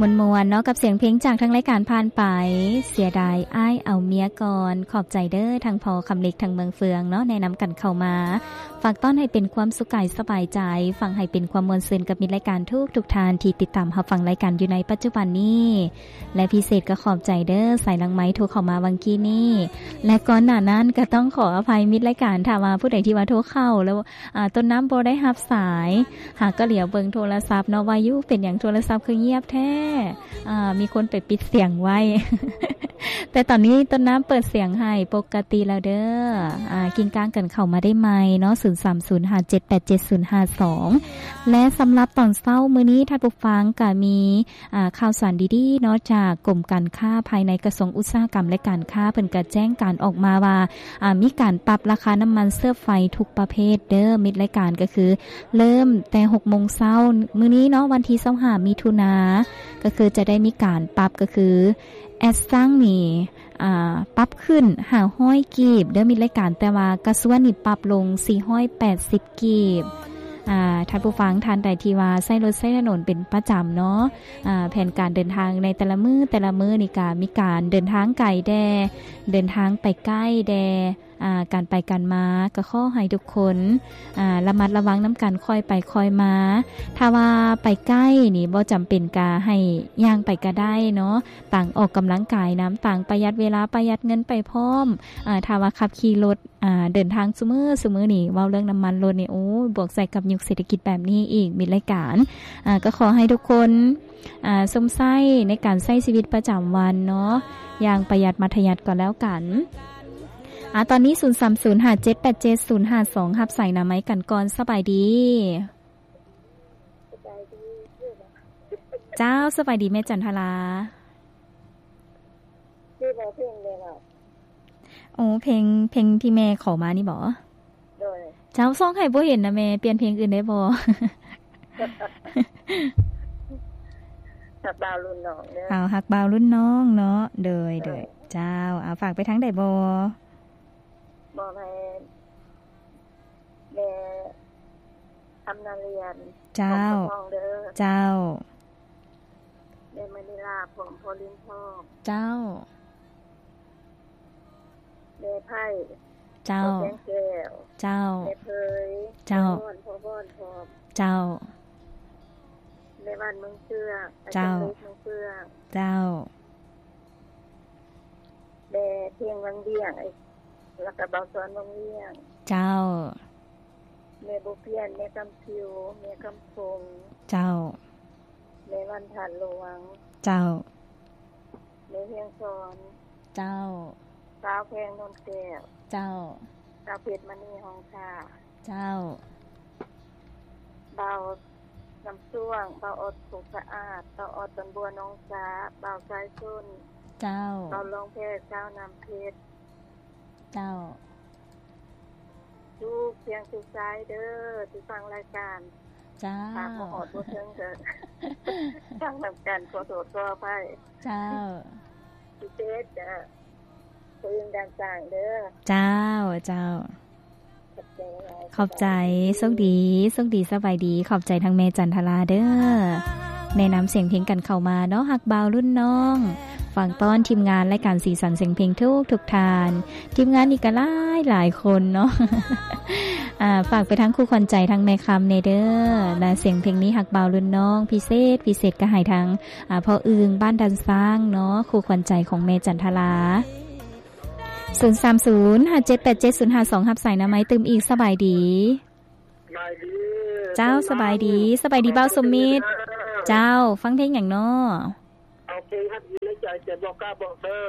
ມ່ວນໆເນາະ ກັບສຽງເພງຈາກທາງລາຍການຜ່ານໄປ ເສຍດາຍອ້າຍເອົາເມຍກ່ອນ. ຂອບໃຈເດີ ທັງພໍ່ຄຳເລັກ ທັງເມືອງເຟືອງເນາະ ແນະນຳກັນເຂົ້າມາ ຝາກຕ້ອນໃຫ້ເປັນຄວາມສຸກກາຍສະບາຍໃຈ, ຟັງໃຫ້ເປັນຄວາມມ່ວນຊື່ນກັບມິດລາຍການທຸກໆທ່ານທີ່ຕິດຕາມຮັບຟັງລາຍການຢູ່ໃນປັດຈຸບັນນີ້ ແລະ ພິເສດກໍຂອບໃຈເດີ ສາຍຫຼັງໄມໂທເຂົ້າມາຫວ່າງກີ້ນີ້ ແລະ ກ່ອນໜ້ານັ້ນກໍຕ້ອງຂໍອະໄພມິດລາຍການ ຖ້າວ່າຜູ້ໃດທີ່ວ່າໂທເຂົ້າແລ້ວ ອາ ຕົ້ນນ້ຳບໍ່ໄດ້ຮັບສາຍ ຫາກໍຫຼຽວເບິ່ງໂທລະສັບເນາະ ວ່າຢູ່ເປັນຫຍັງໂທລະສັບຄືງຽບແທ້ ອາ ມີຄົນໄປປິດສຽງໄວ້ ແຕ່ຕອນນີ້ຕົ້ນນ້ຳເປີດສຽງໃຫ້ປົກກະຕິແລ້ວເດີ. ອາ ກິ່ງກ້າງກັນເຂົ້າມາໄດ້ໃໝ່ເນາະ ສູນສາມສູນ ຫ້າເຈັດແປດເຈັດສູນຫ້າສອງ ແລະ ສຳລັບຕອນເຊົ້າມື້ນີ້ ທ່ານຜູ້ຟັງກະມີ ອາ ຂ່າວສານດີໆເນາະ ຈາກກົມການຄ້າພາຍໃນ ກະຊວງອຸດສາຫະກຳ ແລະ ການຄ້າ ເພິ່ນກະແຈ້ງການອອກມາວ່າ ອາ ມີການປັບລາຄານ້ຳມັນເຊື້ອໄຟທຸກປະເພດເດີ. ມິດລາຍການກໍຄືເລີ່ມແຕ່ຫົກໂມງເຊົ້າມື້ນີ້ເນາະ ວັນທີຊາວຫ້າ ມິຖຸນາ ກໍຄືຈະໄດ້ມີການປັບ ກໍຄືແອດຊັງນີ້ ອາ ປັບຂຶ້ນຫ້າຮ້ອຍກີບເດີ ມິດລາຍການ ແຕ່ວ່າກາຊວນນີ້ປັບລົງສີ່ຮ້ອຍແປດສິບກີບ. ອາ ທ່ານຜູ້ຟັງທ່ານໃດທີ່ວ່າໃຊ້ລົດໃຊ້ຖະໜົນເປັນປະຈຳເນາະ ອາ ແຜນການເດີນທາງໃນແຕ່ລະມື້ ແຕ່ລະມື້ນີ້ກະມີການເດີນທາງໄກແດ່ ເດີນທາງໄປໃກ້ແດ່ ອາ ການໄປການມາ ກໍຂໍໃຫ້ທຸກຄົນ ອາ ລະມັດລະວັງນຳກັນ ຄ່ອຍໄປຄ່ອຍມາ. ຖ້າວ່າໄປໃກ້ນີ້ບໍ່ຈຳເປັນກະໃຫ້ຍ່າງໄປກະໄດ້ເນາະ ຕ່າງອອກກຳລັງກາຍນຳ ຕ່າງປະຢັດເວລາ ປະຢັດເງິນໄປພ້ອມ. ອາ ຖ້າວ່າຂັບຂີ່ລົດ ອາ ເດີນທາງຊຸມື້ ຊຸມື້ນີ້ ເວົ້າເລື່ອງນ້ຳມັນລົດນີ້ ໂອ້ຍ ບວກໃສ່ກັບຍຸກເສດຖະກິດແບບນີ້ອີກ ມິດລາຍການ ອາ ກໍຂໍໃຫ້ທຸກຄົນ ອາ ຊົມໃຊ້ໃນການໃຊ້ຊີວິດປະຈຳວັນເນາະ ຢ່າງປະຢັດມັດທະຍັດກໍແລ້ວກັນ. ອາ ຕອນນີ້ ສູນສາມສູນ ຫ້າເຈັດແປດເຈັດສູນຫ້າສອງ ຮັບສາຍໜ້າໄມກັນກ່ອນ. ສະບາຍດີ. ສະບາຍດີ. ເຈົ້າ ສະບາຍດີແມ່ຈັນທະລາ. ມີບໍ່ເພງແດ່ລະ? ໂອ້ ເພງ ເພງທີ່ແມ່ຂໍມານີ້ບໍ? ໂດຍ. ເຈົ້າ ສ່ອງໃຫ້ບໍ່ເຫັນນະແມ່ ປ່ຽນເພງອື່ນໄດ້ບໍ່? ຮັກບ່າວລຸ້ນນ້ອງເດີ. ເອົາ ຮັກບ່າວລຸ້ນນ້ອງເນາະ. ໂດຍ ໂດຍ. ເຈົ້າ ເອົາ ຝາກໄປທາງໃດບໍ່? ມອບໃຫ້ ແມ່ຄຳນາລຽນ. ເຈົ້າ ຂອງເຈົ້າຂອງເດີ. ເຈົ້າ. ແມ່ມະນີລາ ພ້ອມພໍ່ລິນທອງ. ເຈົ້າ. ແມ່ໄພ. ເຈົ້າ. ພໍ່ແສງແກ້ວ. ເຈົ້າ. ແມ່ເຜີຍ. ເຈົ້າ. ພໍ່ວອນ ພໍ່ວອນ ພ້ອມ. ເຈົ້າ. ແມ່ວັນ ເມືອງເຊືອງ. ເຈົ້າ. ອາຈານເລັກ ເມືອງເຊືອງ. ເຈົ້າ. ແມ່ພຽງ ວັງວຽງ ແລ້ວກະບ່າວສອນ ວັງວຽງ. ເຈົ້າ. ແມ່ບົວປ່ຽນ ແມ່ຄຳຜິວ ແມ່ຄຳພົງ. ເຈົ້າ. ແມ່ວັນ ທາດຫຼວງ. ເຈົ້າ. ແມ່ຮຽງສອນ. ເຈົ້າ. ສາວແພງ ໂນນແກ້ວ. ເຈົ້າ. ສາວເພັດ ມະນີ ຫ້ອງທ່າ. ເຈົ້າ. ບ່າວນ້ຳຊ່ວງ ບ່າວອອດ ໂຄກສະອາດ ບ່າວອອດ ດອນບົວ ໜອງສາ ບ່າວສາຍຊົນ. ເຈົ້າ. ບ່າວຫຼອງແພ ຊາວນ້ຳເພັດ. ເຈົ້າ. ທຸກພຽງທຸກສາຍເດີ ທີ່ຟັງລາຍການ. ເຈົ້າ. ຫາກບໍ່ຮອດບໍ່ເຖິງກໍຟັງນຳກັນ ຂໍໂທດຂໍອະໄພ. ເຈົ້າ. ພິເສດກະ ຜູ້ອື່ນດ່ານສ້າງເດີ. ເຈົ້າ ເຈົ້າ. ຂອບໃຈ. ໂຊກດີ ໂຊກດີ ສະບາຍດີ. ຂອບໃຈທັງແມ່ຈັນທະລາເດີ ແນະນຳສຽງເພງກັນເຂົ້າມາເນາະ. ຮັກບ່າວລຸ້ນນ້ອງ ຝາກຕ້ອນທີມງານລາຍການສີສັນສຽງເພງທຸກໆທ່ານ. ທີມງານນີ້ກໍຫຼາຍໆຄົນເນາະ. ອາ ຝາກໄປທາງຄູ່ຂວັນໃຈ ທາງແມ່ຄຳແດ່ເດີ ນະ. ສຽງເພງນີ້ ຮັກບ່າວລຸ້ນນ້ອງ ພິເສດ ພິເສດກໍໃຫ້ທາງ ອາ ພໍ່ອຶ່ງ ບ້ານດານຊ້າງເນາະ ຄູ່ຂວັນໃຈຂອງແມ່ຈັນທະລາ. ສູນສາມສູນ ຫ້າເຈັດແປດເຈັດສູນຫ້າສອງ ຮັບສາຍໜ້າໄມຕື່ມອີກ. ສະບາຍດີ. ສະບາຍດີ. ເຈົ້າ ສະບາຍດີ. ສະບາຍດີ ບ່າວສົມມິດ. ເຈົ້າ ຟັງເພງຫຍັງເນາະ? ເອົາເພງຮັກຢູ່ໃນໃຈແຕ່ບໍ່ກ້າບອກເດີ.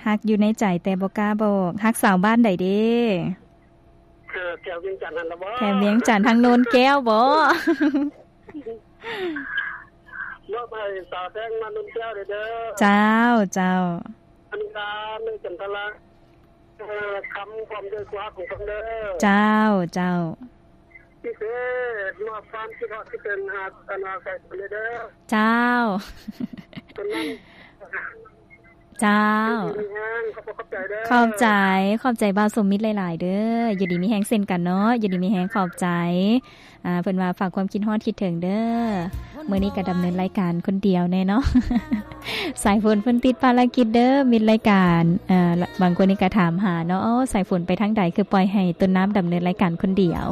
ຮັກຢູ່ໃນໃຈແຕ່ບໍ່ກ້າບອກ. ຮັກສາວບ້ານໃດເດ? ເອີ ແຖວວຽງຈັນຫັ້ນລະບໍ? ແຖວວຽງຈັນ ທາງໂນນແກ້ວບໍ? ມອບໃຫ້ສາວແພງມາໂນນແກ້ວເດີ. ເຈົ້າ ເຈົ້າ. ອັນນີ້ລາ ແມ່ຈັນທະລາ ເອີ ຄຳຄວາມເດີ ຜູ້ຮັກຂອງເພິ່ນເດີ. ເຈົ້າ ເຈົ້າ. ພິເສດ ມອບຄວາມຄິດຮອດຄິດເຖິງຫາ ອັນວ່າໃສ່ເພິ່ນເດີ. ເຈົ້າ. ເພິ່ນນັ້ນ ເຈົ້າ ຢູ່ດີມີແຮງ ຂອບໃຈເດີ ຂອບໃຈ ຂອບໃຈບ່າວສົມມິດຫຼາຍໆເດີ ຢູ່ດີມີແຮງເຊັ່ນກັນເນາະ ຢູ່ດີມີແຮງ ຂອບໃຈ. ອ່າ ເພິ່ນວ່າຝາກຄວາມຄິດຮອດຄິດເຖິງເດີ ມື້ນີ້ກໍດຳເນີນລາຍການຄົນດຽວແນ່ເນາະ ສາຍຝົນເພິ່ນຕິດພາລະກິດເດີ ມິດລາຍການ ເອີ ບາງຄົນນີ້ກໍຖາມຫາເນາະ ໂອ້ ສາຍຝົນໄປທາງໃດ ຄືປ່ອຍໃຫ້ຕົ້ນນ້ຳດຳເນີນລາຍການຄົນດຽວ.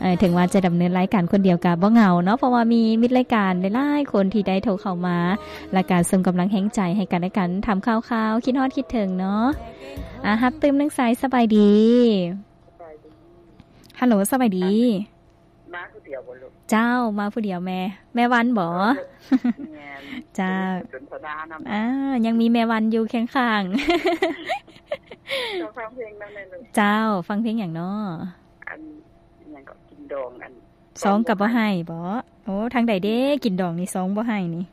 ເອີ ເຖິງວ່າຈະດຳເນີນລາຍການຄົນດຽວກໍບໍ່ເຫງົາເນາະ ເພາະວ່າມີມິດລາຍການຫຼາຍໆຄົນທີ່ໄດ້ໂທເຂົ້າມາ ແລ້ວກໍສົ່ງກຳລັງແຮງໃຈໃຫ້ກັນແລະກັນ ຖາມຂ່າວຄາວ ຄິດຮອດຄິດເຖິງເນາະ. ອ່າ ຮັບຕື່ມໜຶ່ງສາຍ ສະບາຍດີ ສະບາຍດີ ຮັລໂຫຼ ສະບາຍດີ. ມາຜູ້ດຽວບໍ່ລູກ? ເຈົ້າ ມາຜູ້ດຽວແມ່ ແມ່ວັນບໍ? ເອີ ແມ່ນ ເຈົ້າ ສນທະນານຳ ອ່າ ຍັງມີແມ່ວັນຢູ່ຄຽງຂ້າງ ເຈົ້າ ຟັງເພງນຳແນ່ລູກ. ເຈົ້າ ຟັງເພງຫຍັງເນາະ? ອັນ ຫຍັງເກາະ ກິນດອງ ອັນ ຊອງກໍບໍ່ໃຫ້ບໍ? ໂອ້ ທາງໃດເດ້ ກິນດອງນີ້ຊອງບໍ່ໃຫ້ນີ້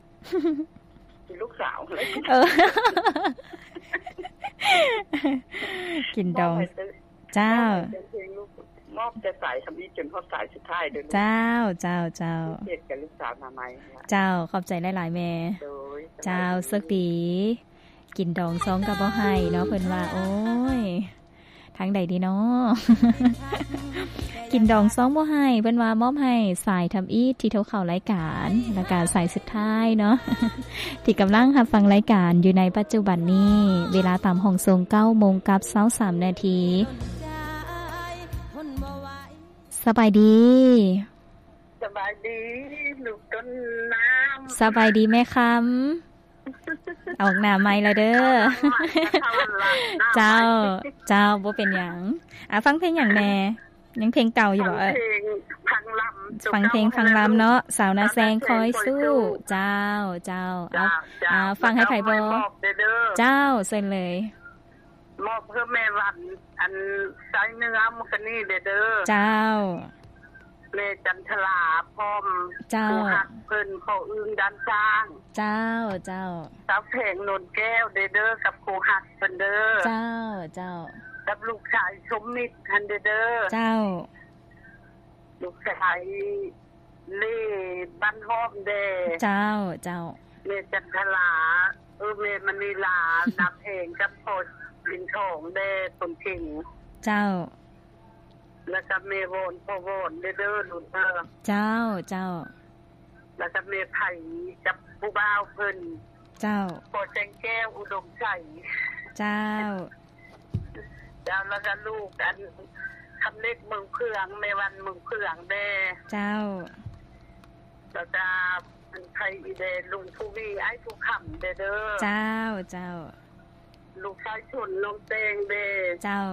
ກິນລູກສາວ ເອີ ກິນດອງ ມອບໃຫ້ເຈົ້າ ເຈົ້າ ມອບແຕ່ສາຍທຳອິດຈົນຮອດສາຍສຸດທ້າຍເດີລູກ. ເຈົ້າ ເຈົ້າ ເຈົ້າ ເຮັດກັບລູກສາວໜ້າໃໝ່. ເຈົ້າ ຂອບໃຈຫຼາຍໆແມ່. ໂດຍ ເຈົ້າ ສະບາຍດີ ໂຊກດີ. ກິນດອງຊອງກໍບໍ່ໃຫ້ເນາະ ເພິ່ນວ່າ ໂອ້ຍ ທາງໃດດີເນາະ ກິນດອງຊອງບໍ່ໃຫ້ ເພິ່ນວ່າມອບໃຫ້ສາຍທຳອິດທີ່ໂທເຂົ້າລາຍການ ແລ້ວກະສາຍສຸດທ້າຍເນາະ ທີ່ກຳລັງຮັບຟັງລາຍການຢູ່ໃນປັດຈຸບັນນີ້ ເວລາຕາມຫ້ອງສົ່ງເກົ້າໂມງກັບຊາວສາມນາທີ. ສະບາຍດີ ສະບາຍດີລູກຕົ້ນນ້ຳ ສະບາຍດີແມ່ຄຳ. ອອກໜ້າໃໝ່ລະເດີ ເຈົ້າ ເຈົ້າ ບໍ່ເປັນຫຍັງ. ອ່າ ຟັງເພງຫຍັງແດ່? ຍັງເພງເກົ່າຢູ່ບໍ່? ເອີ ຟັງເພງ ຟັງລຳ ຟັງເພງ ຟັງລຳເນາະ ສາວນາແຊງ ຄອຍສູ້. ເຈົ້າ ເຈົ້າ ເອົາ ອ່າ ຟັງໃຫ້ໃຜບໍ່? ເຈົ້າ ເຊີນເລີຍ. ມອບເພື່ອແມ່ວັນ ອັນ ໃຊ້ເນື້ອມັນກະນີ້ເດີ. ເຈົ້າ ແມ່ຈັນທະລາ ພ້ອມ ເຈົ້າ ຜູ້ຮັກເພິ່ນ ພໍ່ອຶ່ງດ້ານຊ້າງ. ເຈົ້າ ເຈົ້າ ສາວແພງ ໂນນແກ້ວເດີ ກັບຜູ້ຮັກເພິ່ນເດີ. ເຈົ້າ ເຈົ້າ ກັບລູກຊາຍສົມມິດຫັ້ນເດີ. ເຈົ້າ ລູກຊາຍ ເລ ບ້ານຫ້ອມແດ່. ເຈົ້າ ເຈົ້າ ແມ່ຈັນທະລາ ເອີ ແມ່ມະນີລາ ນາແພງ ກັບພໍ່ລິນທອງແດ່ ຄົນເກັ່ງ. ເຈົ້າ ແລ້ວກໍແມ່ວອນ ພໍ່ວອນເດີ ເດີລູກເດີ. ເຈົ້າ ເຈົ້າ ແລ້ວກໍແມ່ໄພ ກັບຜູ້ບ່າວເພິ່ນ. ເຈົ້າ ພໍ່ແສງແກ້ວ ອຸດົມໄຊ. ເຈົ້າ ເຈົ້າ ແລ້ວກໍລູກອັນ ຄຳເລັກເມືອງເຜືອງ ແມ່ວັນເມືອງເຜືອງແດ່. ເຈົ້າ ແລ້ວກໍອັນ ໃຜອີກແດ່ ລຸງພູວີ ອ້າຍພູຄຳແດ່ເດີ. ເຈົ້າ ເຈົ້າ ລູກຊາຍຊົນ ນ້ອງແຕງແດ່. ເຈົ້າ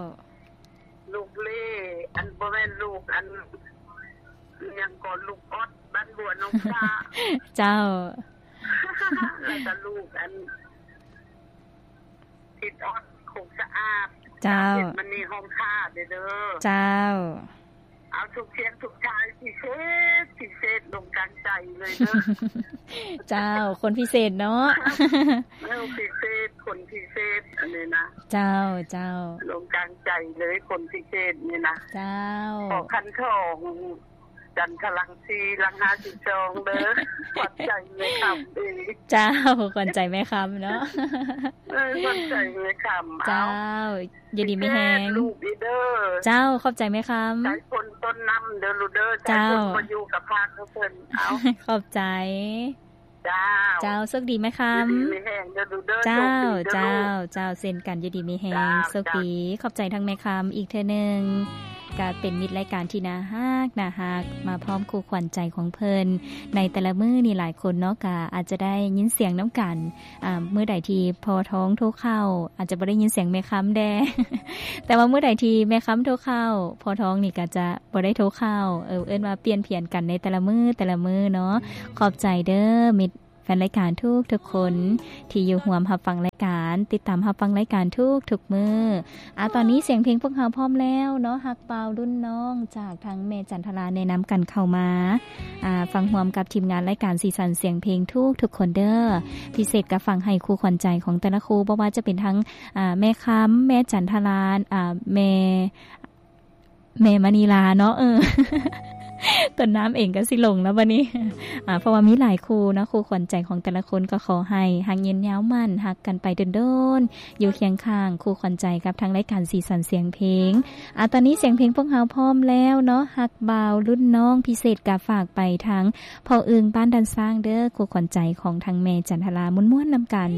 ລູກເລ ອັນ ບໍ່ແມ່ນ ລູກອັນ ຫຍັງກໍ ລູກອອດ ບ້ານບົວ ນ້ອງສາ. ເຈົ້າ ແລ້ວກໍລູກອັນ ທິດອອດ ຄົງສະອາດ. ເຈົ້າ ເຮັດມັນນີ້ຫ້ອງຂ້າເດີ. ເຈົ້າ ເອົາທຸກສຽງທຸກສາຍ ພິເສດ ພິເສດ ລົງກາງໃຈເລີຍເດີ. ເຈົ້າ ຄົນພິເສດເນາະ. ເອີ ພິເສດ ຄົນພິເສດ ອັນນີ້ນະ. ເຈົ້າ ເຈົ້າ ລົງກາງໃຈເລີຍ ຄົນພິເສດນີ້ນະ. ເຈົ້າ ພໍ່ຂັນທອງ ຈັນທະລັງສີ່ ຫຼັງຫ້າສິບສອງເດີ ຂວັນໃຈແມ່ຄຳເອງ. ເຈົ້າ ຂວັນໃຈແມ່ຄຳເນາະ. ເອີ ຂວັນໃຈແມ່ຄຳ. ເຈົ້າ ເອົາ ຢູ່ດີມີແຮງ ເດີລູກເດີ. ເຈົ້າ ຂອບໃຈແມ່ຄຳ. ໃຈຄົນຕົ້ນນ້ຳເດີລູກເດີ. ເຈົ້າ ໃຈຄົນບໍ່ຢູ່ກັບພາກເພິ່ນ. ເອົາ ຂອບໃຈ. ເຈົ້າ ເຈົ້າ ໂຊກດີແມ່ຄຳ. ຢູ່ດີມີແຮງເດີລູກເດີ. ເຈົ້າ ໂຊກດີເດີ ເຈົ້າ ເຈົ້າ ເຊັ່ນກັນ ຢູ່ດີມີແຮງ. ເຈົ້າ ໂຊກດີ ເຈົ້າ ຂອບໃຈທາງແມ່ຄຳອີກເທື່ອໜຶ່ງ ກະເປັນມິດລາຍການທີ່ໜ້າຮັກ ໜ້າຮັກ ມາພ້ອມຄູ່ຂວັນໃຈຂອງເພິ່ນໃນແຕ່ລະມື້ນີ້. ຫຼາຍຄົນເນາະ ກະອາດຈະໄດ້ຍິນສຽງນຳກັນ ອ່າ ມື້ໃດທີ່ພໍ່ທອງໂທເຂົ້າ ອາດຈະບໍ່ໄດ້ຍິນສຽງແມ່ຄຳແດ່ ແຕ່ວ່າມື້ໃດທີ່ແມ່ຄຳໂທເຂົ້າ ພໍ່ທອງນີ້ກະຈະ ບໍ່ໄດ້ໂທເຂົ້າ ເອີ້ນວ່າປ່ຽນຜຽນກັນໃນແຕ່ລະມື້ ແຕ່ລະມື້ເນາະ. ຂອບໃຈເດີ ມິດແຟນລາຍການທຸກໆຄົນ ທີ່ຢູ່ຮ່ວມຮັບຟັງລາຍການ ຕິດຕາມຮັບຟັງລາຍການທຸກໆມື້. ອາ ຕອນນີ້ສຽງເພງພວກເຮົາພ້ອມແລ້ວເນາະ ຮັກບ່າວລຸ້ນນ້ອງ ຈາກທາງແມ່ຈັນທະລາແນະນຳກັນເຂົ້າມາ ອາ ຟັງຮ່ວມກັບທີມງານລາຍການສີສັນສຽງເພງທຸກໆຄົນເດີ. ພິເສດກໍຟັງໃຫ້ຄູ່ຂວັນໃຈຂອງແຕ່ລະຄູ່ ບໍ່ວ່າຈະເປັນທັງ ອາ ແມ່ຄຳ ແມ່ຈັນທະລາ ອາ ແມ່ ແມ່ມະນີລາເນາະ ເອີ ຕົ້ນນ້ຳເອງກໍຊິຫຼົງແລ້ວບັດນີ້ ອາ ເພາະວ່າມີຫຼາຍຄູ່ເນາະ ຄູ່ຂວັນໃຈຂອງແຕ່ລະຄົນ ກໍຂໍໃຫ້ຮັກຍືນຍາວໝັ້ນ ຮັກກັນໄປດົນໆ ຢູ່ຄຽງຂ້າງຄູ່ຂວັນໃຈກັບທາງລາຍການສີສັນສຽງເພງ. ອາ ຕອນນີ້ສຽງເພງພວກເຮົາພ້ອມແລ້ວເນາະ ຮັກບ່າວລຸ້ນນ້ອງ ພິເສດກໍຝາກໄປທາງພໍ່ອຶ່ງບ້ານດານຊ້າງເດີ້ ຄູ່ຂວັນໃຈຂອງທາງແມ່ຈັນທະລາ ມ່ວນໆນຳກັນ.